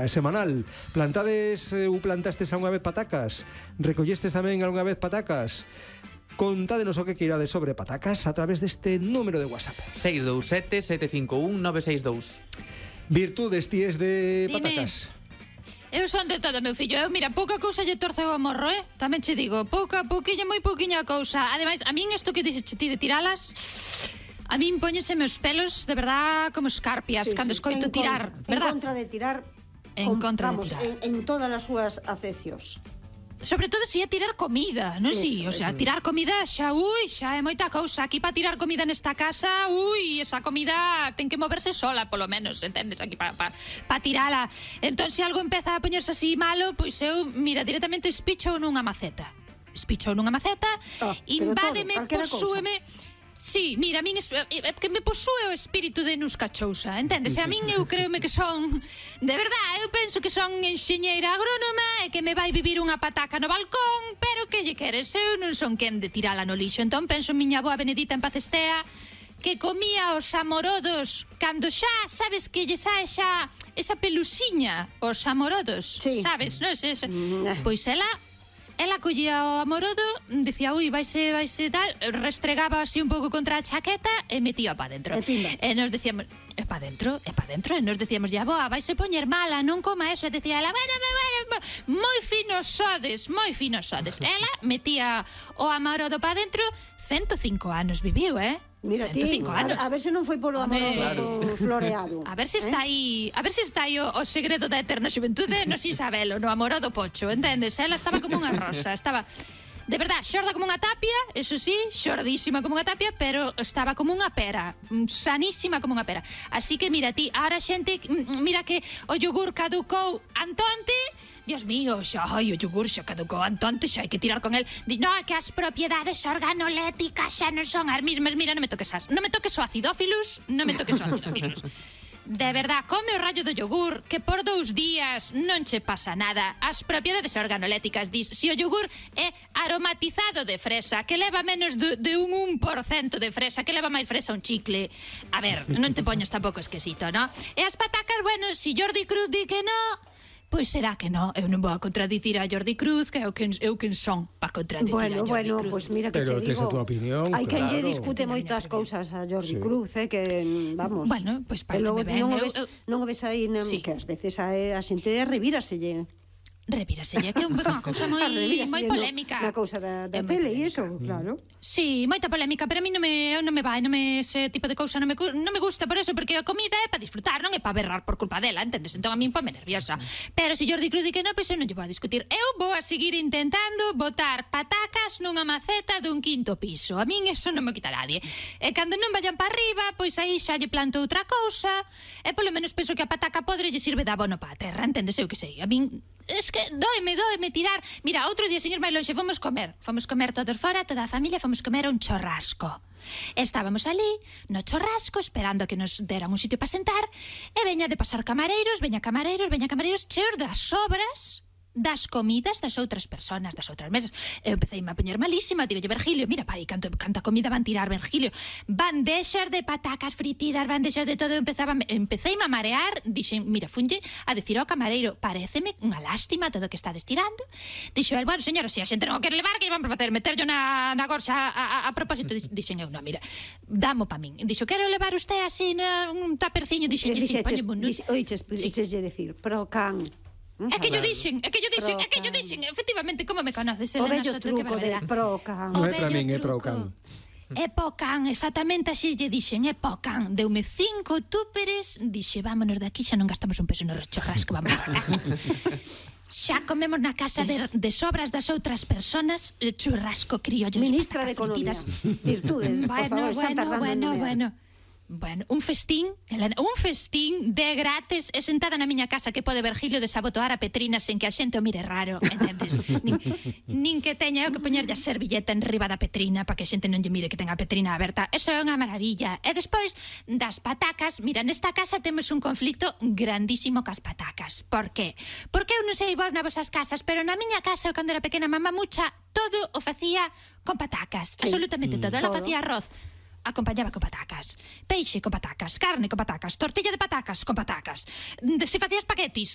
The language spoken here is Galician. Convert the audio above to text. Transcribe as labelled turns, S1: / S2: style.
S1: semanal. Plantades ou plantastes algunha vez patacas? Recollestes tamén algunha vez patacas? Contádenos o que queirades sobre patacas a través deste número de WhatsApp.
S2: 627-751-962.
S1: Virtudes, tíes de
S3: Dime.
S1: patacas.
S3: Eu son de todo, meu fillo. Eu, mira, pouca cousa lle torceu o morro, Tamén che digo, pouquiña, moi pouquiña cousa. Ademais, a min isto que dixes ti de tiralas, a min póñeseme os pelos de verdad como escarpias cando escoito tirar, verdad?
S4: En contra de tirar.
S3: En contra de
S4: vamos,
S3: tirar.
S4: en todas as súas acecios.
S3: Sobre todo se é tirar comida, non si? O sea, tirar comida xa é moita cousa. Aquí para tirar comida nesta casa, esa comida ten que moverse sola, polo menos, entendes? Aquí para tirala. Entón, se algo empeza a poñerse así malo, pois eu, mira, directamente espicho nunha maceta. Invádeme, posúeme. Sí, mira, a min que me posúe o espírito de Nusca Chousa, entendes? A min eu creome que son, de verdad, eu penso que son enxeñeira agrónoma e que me vai vivir unha pataca no balcón, pero que lle queres? Eu non son quen de tirala no lixo. Entón penso en miña boa Benedita en paz estea, que comía os amorodos cando xa, sabes que lle sae xa esa pelusiña, os amorodos, sabes, non? Pois ela collía o amorodo, dicía, vaise tal, restregaba así un pouco contra a chaqueta e metía pa dentro. E nos decíamos, é pa dentro, e nos decíamos, boa, vaise poñer mala, non coma eso. E decía ela, bueno, moi finos sodes. Ela metía o amorodo pa dentro, 105 anos viviu,
S4: Mira ti, a ver se non foi polo amorodo floreado.
S3: A ver se está aí o segredo da eterna xuventude, non si sabelo, no amorodo pocho, entendes? Ela estaba como unha rosa, estaba de verdad, xorda como unha tapia, eso sí, xordísima como unha tapia, pero estaba como unha pera, sanísima como unha pera. Así que mira ti, ahora xente, mira que o yogur caducou antonte. Dios mío, o yogur xa caducou antonte, xa hai que tirar con el. Diz, que as propiedades organoléticas xa non son as mismas. Mira, non me toques o acidófilos. De verdad, come o rallo do yogur, que por 2 días non che pasa nada. As propiedades organoléticas, dis, se o yogur é aromatizado de fresa, que leva menos de un 1% de fresa, que leva máis fresa un chicle. A ver, non te poñas tampouco esquisito, no? E as patacas, bueno, se Jordi Cruz di que no, pois será que non, eu non vou a contradicir a Jordi Cruz, que eu quen son para contradicir a Jordi Cruz.
S4: Bueno, pois mira que
S1: pero
S4: che digo, hai quen lle discute moitas cousas a Jordi Cruz, que, vamos,
S3: bueno, pois pareceme ben.
S4: Non o ves aí, que ás veces a xente revíraselle.
S3: Revíraselle, que é unha cousa moi polémica.
S4: Na cousa da tele e iso, claro.
S3: Sí, moita polémica, pero a mí non me vai, ese tipo de cousa non me gusta por eso, porque a comida é para disfrutar, non é para berrar por culpa dela, entendes? Entón a mí ponme nerviosa. Pero se Jordi Cruz di que non, pois eu non lle vou a discutir. Eu vou a seguir intentando botar patacas nunha maceta dun 5º piso. A min eso non me quita nadie. E cando non vayan para arriba, pois aí xa lle planto outra cousa, e polo menos penso que a pataca podre lle sirve de abono para a terra, entendes? Eu que sei, a min es que doeme tirar. Mira, outro día, señor máis lonxe, fomos comer todos fora, toda a familia, fomos comer a un chorrasco. Estábamos ali, no chorrasco, esperando que nos deran un sitio para sentar, e veña de pasar camareiros, cheos das sobras das comidas das outras personas, das outras mesas. Eu empecei a poñer malísima, digo, Virgilio, mira, pai, canta comida van tirar, Virgilio, bandexas de patacas fritidas, bandexas de todo. Empecei a marear, dixen, mira, funlle a decir ao camareiro, pareceme unha lástima todo o que está destirando. Dixo el, bueno, señora, se a xente non o quere levar, que vamos a facer, meterlo na gorxa a propósito. Dixen eu, non, mira, damo pa min. Dixo, quero levar usted así un taperciño. Dixen, sí,
S4: oiches decir, pro can.
S3: É que yo dixen, efectivamente, como me conoces,
S4: o
S3: Elena
S4: bello
S3: Soto,
S4: truco de Procan.
S1: Non é para min, é Procan.
S3: É Pocan, exactamente así lle dixen, é Pocan. Deume 5 túperes, dixe, vámonos de aquí, xa non gastamos un peso no churrasco, vamos a casa. Xa comemos na casa de sobras das outras personas, churrasco criollos,
S4: Ministra de Economía, virtudes, por favor, están tardando.
S3: Bueno, un festín, Elena, un festín de grátis, e sentada na miña casa que pode Virgilio desabotoar a Petrina sen que a xente o mire raro, entendes? nin que teña eu que poñerlle a servilleta en riba da Petrina para que a xente non lle mire que ten a Petrina aberta. Eso é unha maravilla. E despois das patacas, mira, nesta casa temos un conflicto grandísimo cas patacas. Por qué? Porque eu non sei vos nas vosas casas, pero na miña casa, cando era pequena, mamá mucha, todo o facía con patacas, absolutamente todo. Ela facía arroz, acompañaba con patacas, peixe con patacas, carne con patacas, tortilla de patacas con patacas. Se facía espaguetis,